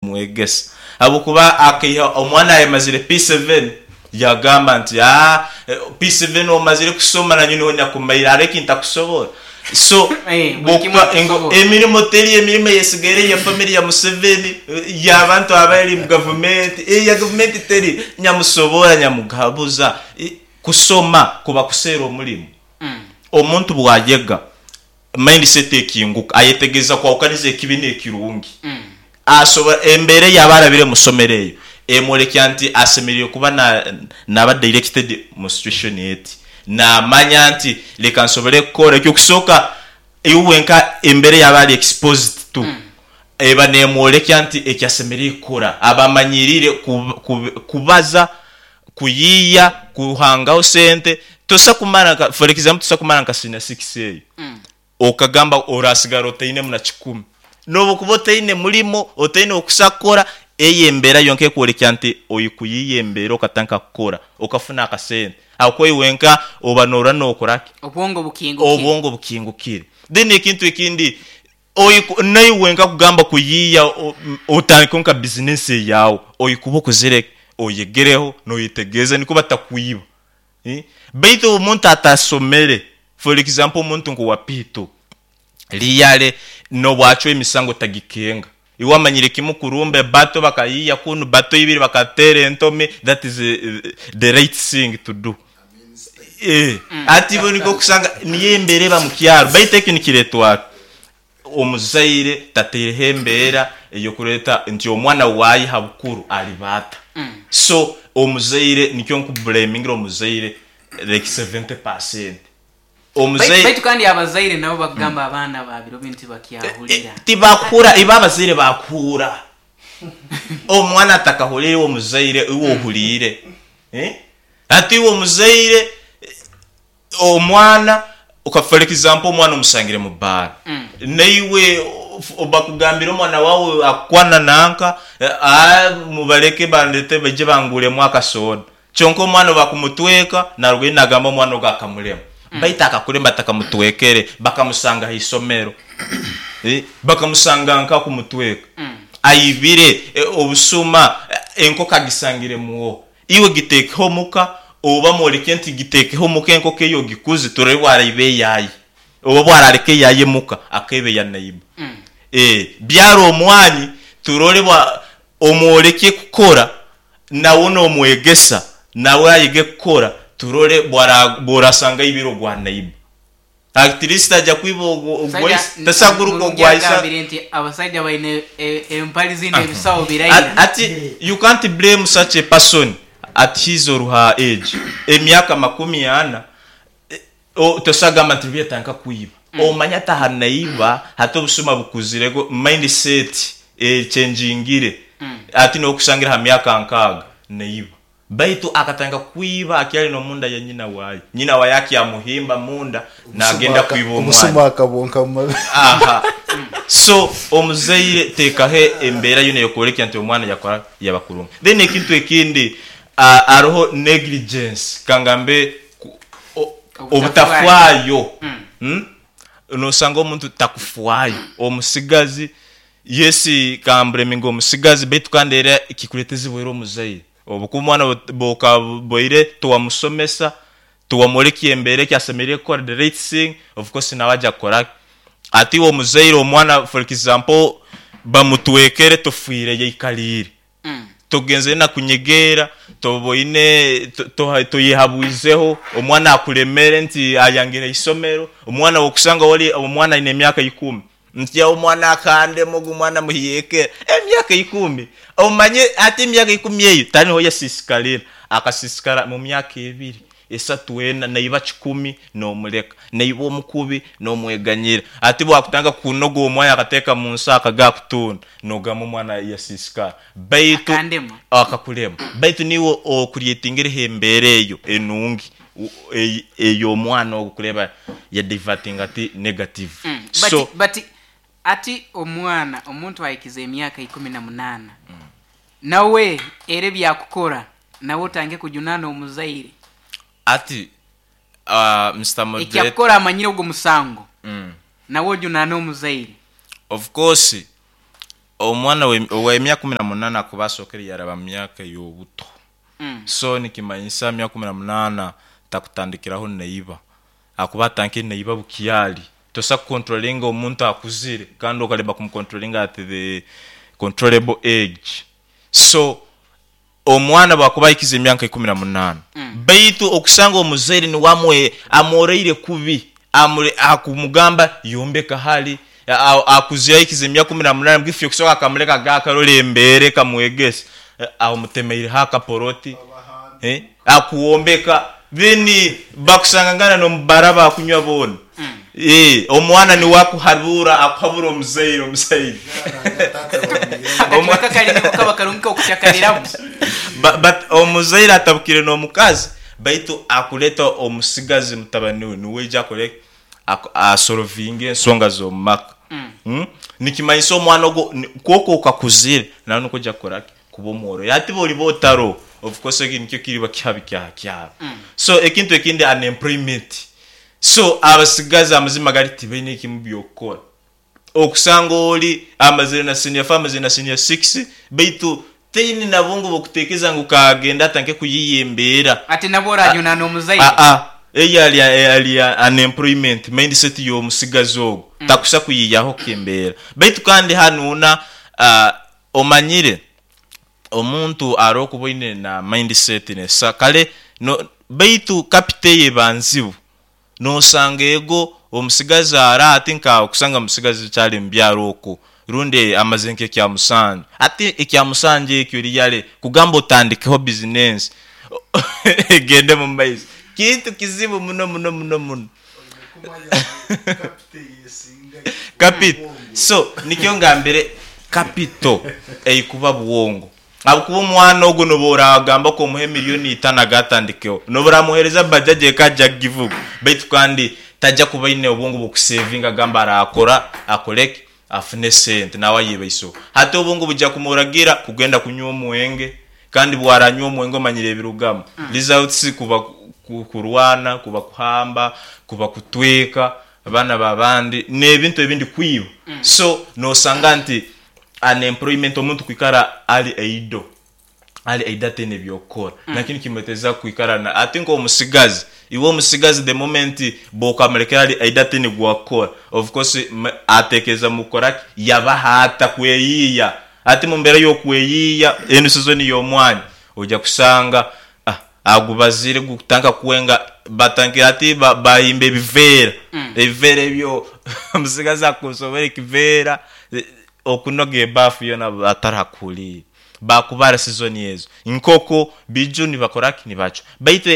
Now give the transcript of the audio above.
kumwegesa habwokuba akaiha omwana ayamazire P7 yagamba nti aah P7 omazire kusoma nanye niho nyakumaire hariho eki ntakusobora so Eh, buri kimwe bwokuba engo akusobora. emirimo teri emirimo eyesigaire eya family ya Museveni y'abantu abari mu gavumenti eya gavumenti teri nyamusobora nyamugabuza kusoma kuba kuseera omurimo omuntu bwayega Mindset ekinguka, ayetegereza kwahukaniza ekibi n'ekirungi. Asobora, embeera ei aba arabire mu somero eyo emworekya nti asemereire kuba na naba directed mu situation eti. Namanya nti leka nsobole kukora eky'okusooka iwe wenka embeera ei aba ari exposed to eba nemworekya nti eki asemereire kukora. Aba amanyiriire ku ku kubaza, kuyiiya, kuhangaho sente. Tosa kumara nka for example tosa kumara nka senior six eyo okagamba orasigara otainemu na kikumi. Nobu okuba otaine murimo, otaine okusa kukora, eyo embeera yonka ekworekya nti ori kuyiiya embeera okatandika kukora okafuna akasente. Ahabw'okuba iwe wenka oba norora nokora ki? Obwongo bukingukire. Obwongo bukingukire. Then ekintu ekindi Naiwe wenka kugamba kuyiiya otandikeho nka bizinesi eyaawe, oikuba okozire ki? Oyegereho noyetegereza nikwo batakwiba. Baitu omuntu atasomere, for example omuntu nkowa P2, really nobu acwa emisango tagikenga. Iwe amanyire kimu kurumba ebato bakayiiya kunu, bato ibiri bakateera entomi, that is the right thing to do. Hati iwe nikwo okusanga niyo embeera eba mukyaro baitu ekyo nikiretwa ki? Omuzaire tataireho embeera eyokureta nti omwana waye habukuru aliba ata. So omuzaire nikyo nkubulemingira omuzaire like 70%. Omuzaire. Baitu kandi abazaire nabo bakugamba abaana ba biro binu tibakyahurira. Tibakuhura ibo abazaire bakuhura. Omwana atakahurire iwe omuzaire iwe ohuriire. Hati iwe omuzaire, omwana, for example omwana omusangire mu baara, naiwe bakugambire omwana waawe akukwana nanka, mubareke bandete baije banguremu akasoda. Kyonka omwana obu bakumutweka, narugayo nagamba omwana ogu akamurema. Baitu akakurema batakamutwekere, bakamusanga ha isomero. Bakamusanga nka kumutweka. Aibire, obusuma, enkoko agisangire muoho. Iwe giteekeho omuka, oba mworeke nti giteekeho omuka enkoko eyo ogikuze turebe bwaraiba eyaye. Oba bwarareka eyaye muka akaiba eya neighbor. Eeh byara omwanyi turore bwa omworeke kukora nawe nomwegesa nawe ayege kukora turore bwara bworasanga aibire ogwa neighbor. At least aja kwiba ogwo Omusaija ogwaise tasaguruka Murungi ogwaise. agambire nti abasaija baine e- empali zindi ebisaho biraira. Ati you can't blame such a person at his or her age emyaka 40 tosagamba nti rubi yatandika kwiba omanya ati aha naiba hati obusuma bukuzire mind set echenjingire hati nokusangira aha myaka nkaaga naiba. Baitu akatandika kwiba akyali n'omunda ya nyina waye. Nyina waye akyamuhimba munda nagenda kwiba omwana. Obusuma akabwonka mu mabega. Aha. So omuzaire tekaho embeera yoona eyokwolekya nti omwana yakora yaba kurungi. Then ekintu ekindi haroho negligence kangambe obutafwayo. Nosanga omuntu takufwayo omusigazi yes kambureminge omusigazi baitu kandi era kikureta ezibu era omuzaire. Obu ku omwana bw'okabaire tiwamusomesa, tiwamworekya embeera eki asemeriire kukora, the right thing, of course nawe aja kukora ki? Hati iwe omuzaire omwana for example bamutwekere tofiireyo aikaliire, togenzere na kunyegeera, toboine, toyehabwizeho, omwana akulemere nti ayangire isomero, omwana wokusanga wali omwana aine emyaka ikumi, Nti omwana akandema ogu mwana muhiyekera emyaka ikumi omanye hati emyaka ikumi eyo tariho yasisikarira akasisikara mu myaka ebiri esatu ena naiba kikumi nomureka naiba omukubi nomweganyira hati bwakutandika kunoga omwanya akateka munsi akaga akutunda nogamba omwana yasisikara baitu Akandema. akakurema baitu niiwe ocreatingireho embeera eyo enungi ey'omwana ogu kureba ya divertinga ati negative so. But but ati omwana omuntu ahikize emyaka 18 nawe era ebyakukora nawe otandike kujunana omuzaire. Ati Mister Moderator. Ekyakukora amanyire ogwo musango nawe ojunane omuzaire. Of course. Omwana ow'emyaka 18 akuba asookere yaraba mu myaka ey'obuto. So nikimanyisa emyaka 18 takutandikiraho naiba. Akuba atandikire naiba bukyali. Tosobola kukontrolinga omuntu akuzire kandi okalema kumukontrolinga at the controllable age. So omwana bwakuba ahikize emyaka 18, baitu okusanga omuzaire niwe amwe amworeire kubi, amure akumugamba yombeka hali, akuzire ahikize emyaka 18 bwifo okusoka akamuleka aga akarora embeera ekamwegesa, amutemeireho akapoloti, akuwombeka, then bakusangangana n'omu bara bakunywa boona. Omwana niwe akuhabura, akuhabura omuzaire, omuzaire. Akacweka kari niko kaba karungi k'okucakariramu. But omuzaire atabukire n'omukazi baitu akuleta omusigazi mutabani we niwe aija akore asolovinge ensonga z'omu maka. Nikimanyisa omwana ogwo nk'oku okakuzire nawe nikwo oija kukora ki? Kuba omworobi. Hati bw'oriba otaroho, of course ekyo nikyo kiriba kihabi kya kyaro. So ekintu ekindi unemployment. So abasigazi amazima gari tibaine kimu by'okukora. Okusanga ori amazire na senior four, amazire na senior six, baitu taine na bwongo bw'okutekereza ngu kagende atandike kuyiiya embeera. Ati nabwo orajunana omuzaire. Aa, eyo ari ari unemployment mindset y'omusigazi ogwo, takusa kuyiiyaho kembeera. Baitu kandi hanuuna omanyire omuntu arokuba oine na mindset nesa kare no baitu capital eyo eba nzibu. Nosanga ego omusigazi ari ati nka okusanga omusigazi akyari mu byaro okwo rundi amazire nk'ekya musanju. Hati ekya musanju ekyo really kugamba otandikeho bizinensi egende mu maiso kintu kizibu muno muno muno muno. Capital so nikyo ngambire capital eikuba bwongo ahabw'okuba omwana ogwo noba oragamba ku omuhe emiliyoni itano agatandikeho noba oramuhereza bajaji eka aje kugivuga baitu kandi taja kuba aine obwongo bw'okusevinga agambe arakora akoreki afune esente nawe ayebaiseho. Hati obwongo buja kumuragira kugenda kunywa omwenge kandi bwaranywa omwenge omanyire ebirugamu results kuba kurwana, kuba kuhamba, kuba kutweka abaana babandi nebintu ebindi kwiba. So nosanga nti unemployment omuntu kwikara ari idle. Ali aidha ataine by'okukora nakyo nikimureeteza kwikara na ati nk'omusigazi iwe omusigazi the moment bw'okamurekera ali aidha ataine gwakukora of course atekereza mu kukora ki yabaho ata kweyiiya ati mu mbeera y'okweyiiya enu sizoni y'omwanya oija kusanga ah agubazire gukutandika kwenga batandikire hati bahimba ebiveera ebiveera ebyo omusigazi akusobora ekiveera okunoga ebaafu yoona atarakuhuriire. Baakubara sizoni ezo. Nk'oku biju nibakora ki? Nibacwa. Baitu.